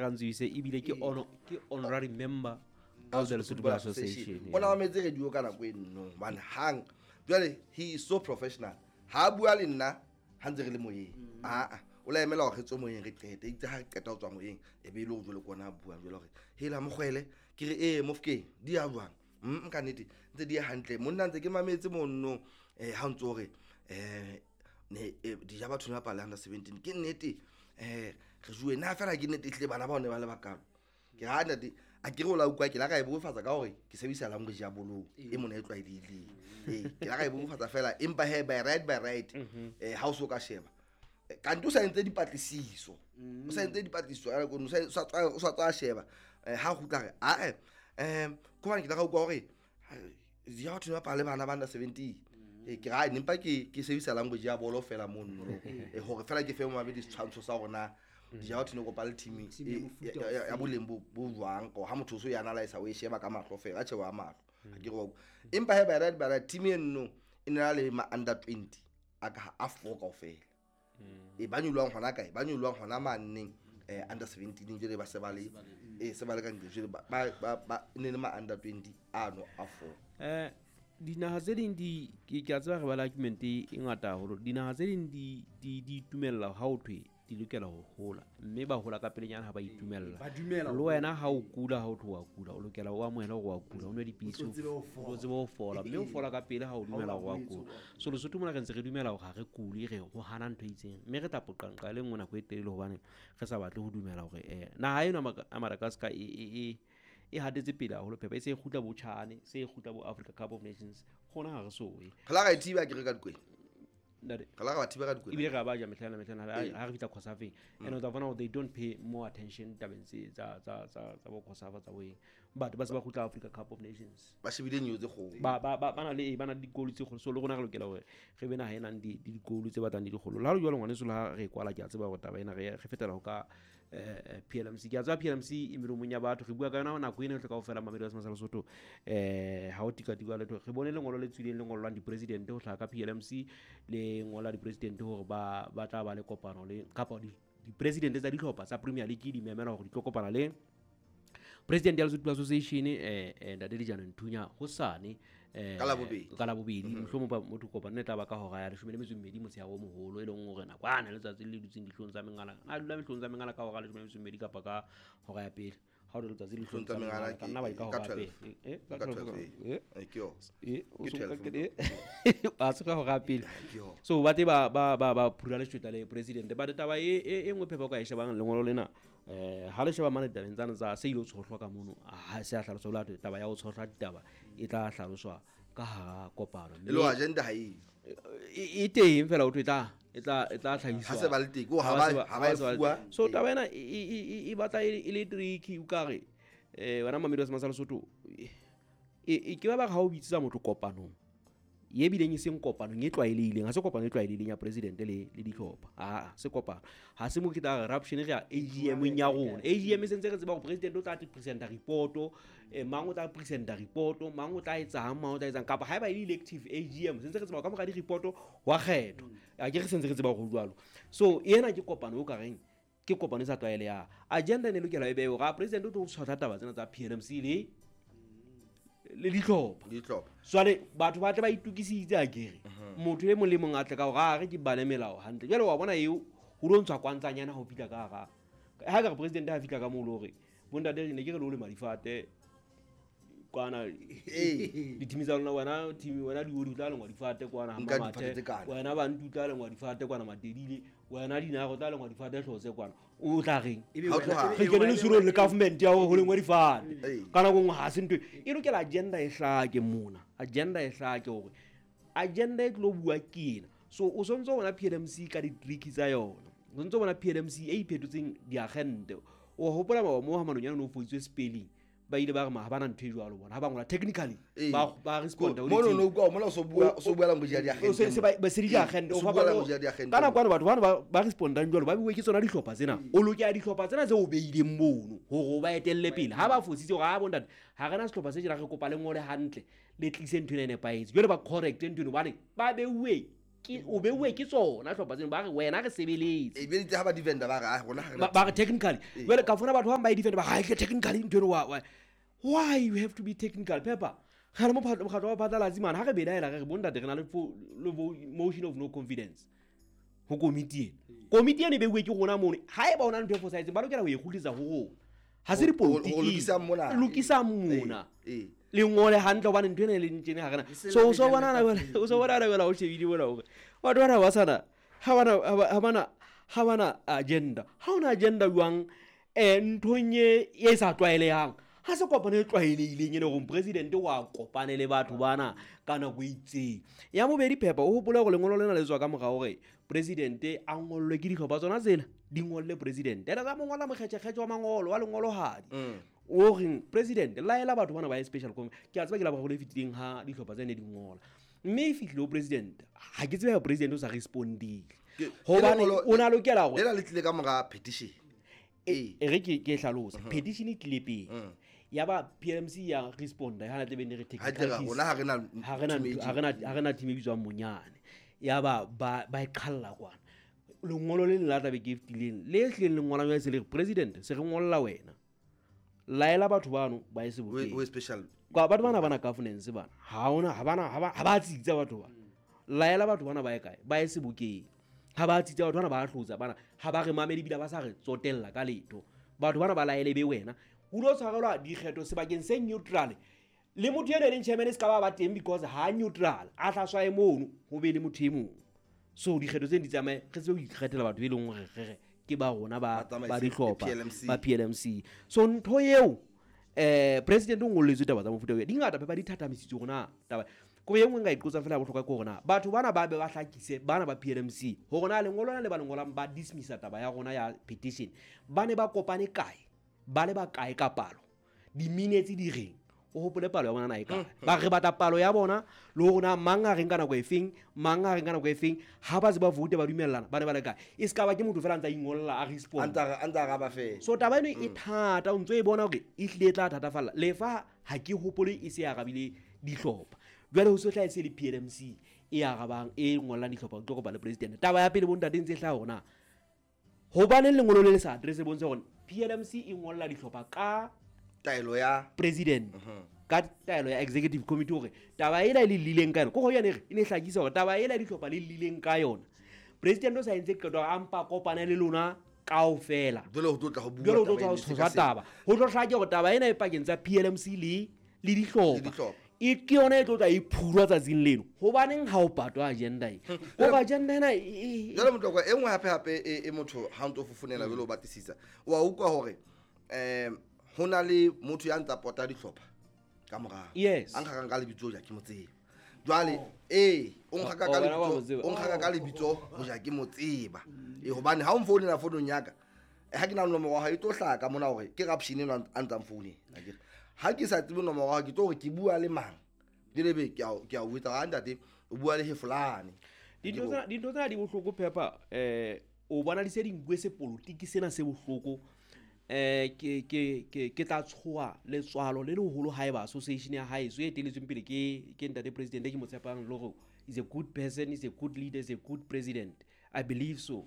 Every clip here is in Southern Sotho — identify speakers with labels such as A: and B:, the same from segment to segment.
A: Rantswise ebile ke honor ke honorary member of the Lesotho Football Association.
B: O na mametse radio ka nako e nno hobane hang jwale he is so professional. Ha a bua le nna ha ntse re le moyeng, aa o la emela hore re tswe moyeng re qete, itse ha re qeta ho tswa moyeng e be e le hore jwale ke ona a buang jwale hore hela mokgwele ke re ee mofokeng di ya jwang. Ka nnete ntse di ya hantle monna, ntse ke mametse monno ha o ntso hore ne dija batho ne bapala under 17 ke nnete re juwe na fela ke nnete ehlile bana bao ne ba le bakalo. Ke ha ntate a ke re o la utlwa ke la ka e bofatsa ka hore ke sebedisa language ya bolong e mona e tlwaelehileng. Ee, ke la ka e bofatsa fela empa he by right ha o so ka sheba kanti o sa entse dipatlisiso, o sa entse dipatlisiso a o sa tswa sheba ha kgutla re ae ke hobane ke la ka utlwa hore dija batho ne bapala le bana ba under 17. Ke ra empa ke sebedisa language ya bolo fela mono hore fela ke fe momamedi setshwantsho sa hore na dija batho ne kopa le team ya boleng bo jwang, ha motho o so e analyse o e sheba ka mahlo fela, a tjhe wa mahlo ha ke re empa he by right team eno e ne le ma under 20 a ka a 4 kaofela. E ba nyolwang hona kae, ba nyolwang hona maneng under 17 jwale ba se ba le se ba le ka ntle jwale ba ne le ma under 20 ano a 4.
A: Dinaha tse ding di ke a tseba re ba le argument e ngata haholo. Dinaha tse ding di itumella ha o thwe di lokela ho hola, mme ba hola ka pelenyana ha ba itumella. Le wena ha o kula, ha o tloha kula, o lokela o amohele hore wa kula, o nwe dipidisi, o tsebe ho fola, mme o fola ka pele ha o dumela hore wa kula. So Lesotho mona re ntse re dumela hore ha re kule, re ho hana ntho e itseng, mme re tla poqanqa le nngwe nako e telele hobane re sa batle ho dumela hore naha eno ya Madagascar e hatetse pele haholo phepa, e se e kgutla bo Chane, se e kgutla bo Africa Cup of Nations, gona ha re soe.
B: Re la ra e thiba ke re ka dikwena. Re la ra thiba ka dikwena.
A: Ebile re ba ja mehlana ha re fihla Cosafeng. And o tla bona they don't pay more attention tabeng tse tsa bo Cosafa tsa boeng. But ba se ba kgutla Africa Cup of Nations.
B: Ba shebile nyo tse kgolo.
A: Ba na le ba na le dikolo tse kgolo. So le rona re lokela hore re be naha e nang di dikolo tse batlang di dikgolo. Le ha le jwalo ngwaneso le ha re kwala ke a tseba hore taba ena re fetela ho ka PLMC. Ke a tseba PLMC e melomong ya batho, re bua ka yona nako ena yohle kaofela mamedi wa Semasa Lesotho. Ha o tika-tika letho, re bone lengolo le tswileng le ngolwang di-president ho hlaha ka PLMC, le ngola di-president hore ba tla ba le kopano le kapa di-president tsa dihlopha tsa Premier League di memela hore di tlo kopana le President ya Lesotho Association Ntate Dijana Nthunya hosane ka Labobedi. Mohlomong ba motho kopano e tla ba ka hora ya 12 motshehare o moholo, e leng hore nakwana letsatsi le dutseng dihlong tsa mengala, a dula mehlong tsa mengala ka hora ya 12 kapa ka hora ya pele. Ha o le letsatsi le hlong tsa mengala ka nna ba ka hora ya pele ka 12 a se ka hora ya pele. So ba te ba phura leshweta le president ba taba e nngwe phepha ka e shebang lengolo lena ha le sheba mane tabeng tsana tsa se ile tshohlwa ka mono, ha se a hlaloswa la taba ya ho tshohlwa ditaba e tla hlaloswa ka hara kopano.
B: Le agenda ha e
A: e teng fela o tla tlhahiswa
B: ha se ba le teng ha ba e fuwa.
A: So taba ena e batla e le tricky o ka re wena mamedi wa Semasa Lesotho e ke ba ba ha o bitsa motho kopanong ye bileng e seng kopanong e tlwaelehileng, ha se kopano e tlwaelehileng ya president le dihlopha, a se kopano, ha se mo ke tla corruption re ya AGM ya rona. AGM e sentse re tseba hore president o tla presenta report, mang o tla presenta report, mang o tla etsang, mang o tla etsang, kapa haeba e le elective AGM sentse re tseba ka mora di report wa kgetho, a ke re sentse re tseba hore jwalo. So ena ke kopano o ka reng ke kopano e sa tlwaelehang. Agenda ne lokela e bewe hore president o tlo tshwara taba tsena tsa PLMC le dihlopha. Jwale batho ba tle ba itukisitse a kere motho e mong le mong a tle ka hore a re ke bale melao hantle. Jwale wa bona eo ho lo ntshwa kwantsanyana ho fihla ka hara ha ka re president ha fihla ka moo le hore bontate ne ke re le ole madifate kwana dithimi tsa lona, wena team wena diodi tla lengwa difate kwana ha Mamathe, wena bantu tla lengwa difate kwana Matedile, wena dinago tla lengwa difate hlotse kwana, o tla reng re kene le suro le government ya ho lengwa difate kana go ha se ntwe e lokela agenda e hlake mona, agenda e hlake hore agenda e tlo bua ke ena. So o sontso bona PLMC ka di-trick tsa yona, o sontso bona PLMC e iphetotseng diagente. O hopola ba mo ha manonyana no foitswe spelling, ba ile ba re ma ha bana ntho e jwalo bona ha ba ngola technically ba respond
B: ho mono no kwa mola so bua language ya diagente,
A: se ba se diagente o fa ba kana kwana batho bana ba respondang jwalo ba buwe ke tsona dihlopha tsena, o lokela dihlopha tsena tse o beileng mono hore o ba etelle pele. Ha ba fositse hore ha bontate ha rena sehlopha se tjena re kopa le ngole hantle le tlise ntho ena e nepahetse, jwale ba correct ntho eno hobane ba beuwe Ke o beuwe ke tsona hlopha tseno, ba re wena re sebeletse.
B: E be itse ha ba defender ba re, "Ah, rona ha re na
A: Ba re technically. Jwale ka fona batho ba bang ba e defend, ba re, "Ha, ke technically ntho eno, why you have to be technical?" Pepper, re le mokgatlo wa phatlalatsi mane, ha re belaela re re bontate re na le motion of no confidence ho komiti ena. Komiti ena e beuwe ke rona mono. Ha eba ho na le ntho e fosahetseng, ba lokela ho e kgutlisa ho rona. Ha se dipolotiki.
B: Ho lokisang mona.
A: Lokisang mona.
B: Ee.
A: Le ngole hantle hobane ntho ena e leng tjena ha re na.
C: E se
A: So,
C: le
A: o so
C: le
A: bona
C: le
A: na, o so bona na jwale o shebile mona hore batho bana ba sana, ha bana, ha ba, ha bana, ha bana agenda. Ha hona agenda jwang, nthong e sa tlwaelehang. Ha se kopano e tlwaelehileng e leng hore president wa kopane le batho bana ka nako e itseng. Ya bobedi, Pepper, o hopole hore lengolo lena le tswa ka mora hore president a ngollwe ke dihlopha tsona tsena, di ngolle president. Ena tsa mo ngolla mokgetjhekgetjhe wa mangolo, wa lengwolohadi. O reng president laela batho bana ba ye special conference. Ke a tseba ke la boraro le fetileng ha dihlopha tsene di ngola. Mme e fihlile ho president, ha ke tsebe ha president o sa respondile.
B: Ke
A: Hobane
B: lengolo
A: o na lokela hore
B: lena le tlile ka mora petition.
A: E re ke hlalose. Petition e tlile pele. Ya ba PLMC ya responda, ha na tle be ne re
B: Ha tle ra,
A: technicalities.
B: rona ha re na
A: Ha re na
B: team e
A: ntho, ha re na team e bitswang Monyane. Ya ba ba e qhalla kwana. Lengolo le leng la tla be ke fetileng, le hlileng le ngolang jwale se le re, president, se re ngolla wena. Laela batho bano ba ye sebokeng.
B: We special.
A: Kwa batho bana bana governance bana. Ha hona, ha bana, ha ba, ha ba tsitsa batho ba. Laela batho bana ba ye kae? Ba ye sebokeng. Ha ba tsitsa batho bana ba hlotsa bana, ha ba re mamele ebile ba sa re tsotella ka letho. Batho bana ba laele be wena. O lo tshwarelwa dikgetho sebakeng se neutral. Le motho eno e leng chairman e se ka ba ba teng because ha neutral, a tla swae mono ho be le motho e mong. So dikgetho tseno di tsamaye, re tsebe ho ikgethela batho e leng hore re re ke ba rona
B: Ba tsamaise
A: ba dihlopha,
B: PLMC.
A: ba PLMC. So ntho eo, president o ngolletswe taba tsa mofuta oo. Di ngata pepa di thathamisitswe hore na taba. Ko e nngwe nka e qotsa fela ya bohlokwa ke hore na batho bana ba be ba hlakise, bana ba PLMC, hore na lengolo lena le ba le ngolang ba dismissa taba ya rona ya petition. Ba ne ba kopane kae? Ba le ba kae ka palo? Di-minutes di reng? O hopole palo ya bona na e kae? Ba re batla palo ya bona le hore na mang a reng ka nako e feng, mang a reng ka nako e feng, ha ba se ba vote ba dumellana, ba ne ba le kae? E se ka ba ke motho fela a ntsa ingolla, a respond.
B: A ntsa re, a ntsa araba fela.
A: So taba eno e thata, o ntso e bona hore e hlile e tla thatafalla. Lefa ha ke hopole e se e arabile dihlopha. Jwale ho se hlahe se le PLMC e arabang, e ngollang dihlopha, o tlo kopa le president. Taba ya pele bontate ntse e hlaha hore na hobaneng lengolo le le sa address bontsha hore PLMC e ngolla dihlopha ka
B: taelo ya
A: president, ka taelo ya executive committee hore taba ena e le lileng ka yona. Ke hore yane e re, e ne e hlakisa hore taba ena dihlopha le lileng ka yona. President o sa entse qeto a mpa kopane le lona kaofela.
B: Jwale ho tlo tla ho bua
A: Jwale ho tlo
B: taba
A: tla ho
B: ena e
A: tshoswa
B: sekaseka.
A: taba. Ho tlo hlake hore taba ena e pakeng tsa PLMC le dihlopha.
B: Le dihlopha.
A: E ke yona e tlo tla e phurwa tsatsing leno. Hobaneng ha o patwa agenda e? Hoba agenda ena e, e,
B: Jwale Motlokwa, e nngwe hape hape e motho ha o ntso fofonela jwale o batlisisa, wa utlwa hore, ho na le motho ya ntsa pota dihlopha ka morao.
A: Yes.
B: A nkgakang ka lebitso hoja ke mo tseba. Jwale, ee, o nkgaka ka
A: Oh, wena wa mo
B: lebitso,
A: tseba.
B: o nkgaka ka lebitso hoja ke mo tseba. Ee, hobane ha o nfounela founung ya ka, ha ke na le nomoro ya hao, e tlo hlaha ka mona hore ke Rapshini enwa a ntsang founela, akere. Ha ke sa tsebe nomoro ya hao, ke tlo hore ke bua le mang. Jwale ebe ke a o jwetsa hore, ntate, o bua le Hefolane.
A: Dintho tsena, dintho tsena di bohloko, Pepper. O bona di se di nkuwe sepolotiki sena se bohloko. Ke tla tshoha letswalo le leholo haeba association ya hae e eteletsweng pele ke ntate president e ke mo tshepang le hore is a good person, is a good leader, is a good president. I believe so.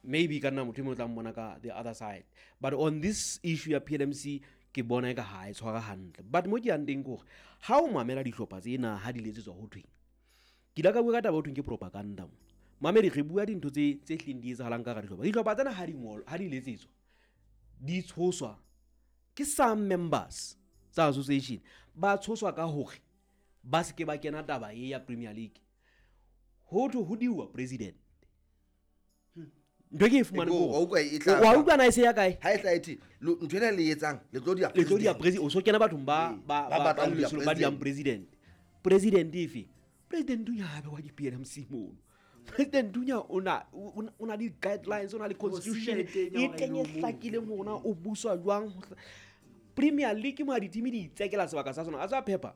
A: Maybe ka nna motho e mong o tla mmona ka the other side. But on this issue ya PLMC, ke bona eka ha e tshwara hantle. But mo ke yang teng ke hore, ha o mamela dihlopha tsena ha di letsetswa ho thweng, ke ile ka bua ka taba ho thweng ke propaganda mo. Mamedi, re bua dintho tse hlileng di etsahalang ka hara dihlopha. Dihlopha tsena ha di ngolwa, ha di letsetswa, di tshoswa ke some members tsa association. Ba tshoswa ka hore ba se ke ba kena taba e ya Premier League. Ho thwe ho diuwa president. Ntho e ke e fumane
B: Eko,
A: ke hore
B: wa utlwa e tla
A: wa utlwa na e se ya kae?
B: Ha e tla e thwe, ntho ena le e etsang, le tlo dia
A: Le tlo dia
B: president.
A: president. O so kena bathong
B: Ee, ba batlang ho dia
A: ba diang president. President efe? President o nyabe wa di PLMC mono. President Dunya o na le guidelines, o na le constitution
C: Ho sile teng
A: e
C: ya hore
A: teng e
C: e o
A: hlakileng hore na o buswa jwang. Premier League mo ha di-team di itsekela sebaka sa sona. A tswa Pepper,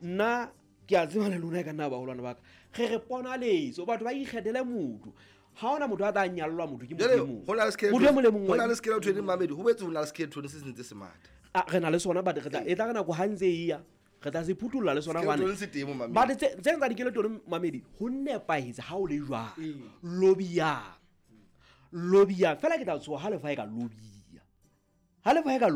A: nna ke a tseba le lona e ka nna baholwane ba ka. Re re ponaletso, batho ba ikgethele motho. Ha hona motho a tla nyallwa motho ke motho
B: Jwale,
A: e mong.
B: ho na le
A: Motho e mong le mong
B: ho
A: wa
B: na le skeleton mamedi, ho boetse ho na le skeleton se sentse se matha.
A: Ah, re na le sona, but re tla, e tla re nako ha ntse e ya, Re tla se phuthulla le sona
B: Skeleton
A: hobane
B: se teng mo mamedi.
A: But tse tsa dikeletone mamedi, ho nepahetse ha o le jwang. Lobbyang, lobbyang fela. Ke tla tshoha ha lefa e ka lobbya, ha lefa e ka.